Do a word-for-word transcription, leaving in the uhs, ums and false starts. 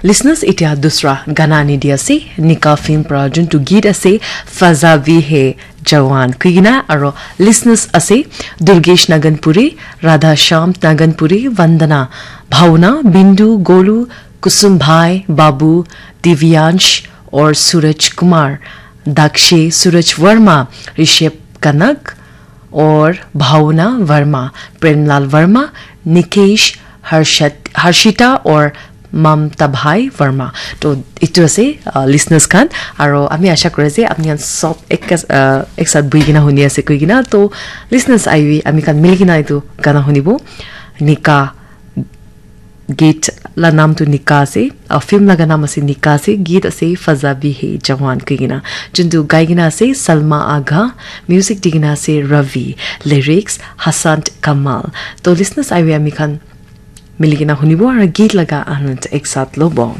Listeners, etia dusra gana ani di ase, Nika film pra juntu geet ase, Faza Bhi Hai Jawan kuigina, aro listeners ase, Durgesh Naganpuri, Radha Shyam Naganpuri, Vandana, Bhauna, Bindu, Golu, Kusum Bhai, Babu, Divyansh, or Suraj Kumar, Dakshe, Suraj Verma, Rishabh Kanak, or Bhauna Verma, Premlal Verma, Nikesh, Harshat, Harshita, or Mamta Bhai Verma. To itu ase, uh, listeners khan, aro ami asha kore je apni khan sob ek, uh, ek sath bui kena huni ase koi kena. To listeners, aiwi ami khan mili kena itu gana hunibo, Nika geet la naam tu Nika ase, uh, film laga naam ase Nika ase, geet ase Faza Bhi Hai Jawan koi kena. Juntu gai kena ase Salma Agha, music di kena ase Ravi, lyrics Hassan Kamal. To listeners, aiwi ami khan mili kena hunibo aro geet laga anand ek sath lobo.